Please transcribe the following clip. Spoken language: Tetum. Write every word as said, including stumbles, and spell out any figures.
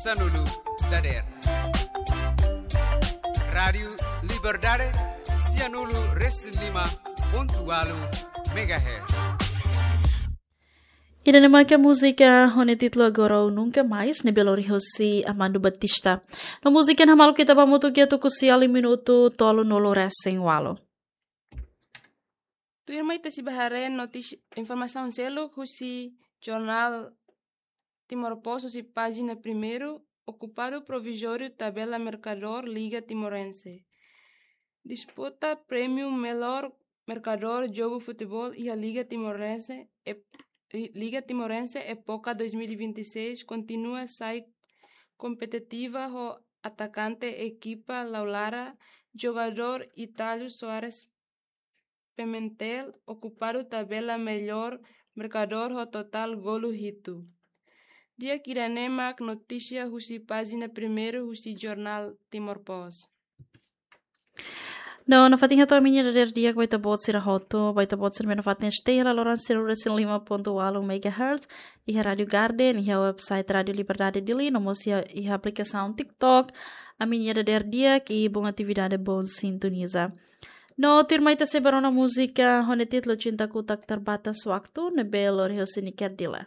Sanulu dader. Rádiu Liberdade, sianulu resin lima pontu walu megahertz. Ida-ne'e maka múzika ho nia títulu Agora ou Nunca Mais, ne'ebé lori husi Amando Batista. No múzika ne'e hamaluk ita ba hamutuk iha tuku sia liu minutu tolunulu resin walu. Tuirmai ita sei bá haree notísia, informasaun seluk husi jornál Timor Post husi pájina primeiru, okupadu provizóriu tabela merkadór Liga Timorense. Disputa prémiu melhor merkadór jogu futeból iha Liga Timorense, e, Liga Timorense époka dois mil e vinte e seis kontinua sai kompetitiva ho atakante ekipa Laulara, jogadór Itálio Soares Pimentel, okupadu tabela melhor merkadór ho totál golu hitu. Di'ak, ida-ne'e mak notísia husi pájina primeiru husi jornál Timor Post. No, nafatin hato'o ami-nia dader di'ak ba ita-boot sira hotu, ba ita-boot sira ne'ebé nafatin stay hela loron siru resin lima pontu walu megahertz, iha Rádiu Garden, iha website Rádiu Liberdade Dili, no mós iha, iha aplikasaun TikTok, ami-nia dader di'ak i boa atividade, boa sintoniza. No, tuirmai ita sei bá rona múzika ho nia títulu Cintaku Tak Terbatas Waktu, ne'ebé lori husi Niker Dila.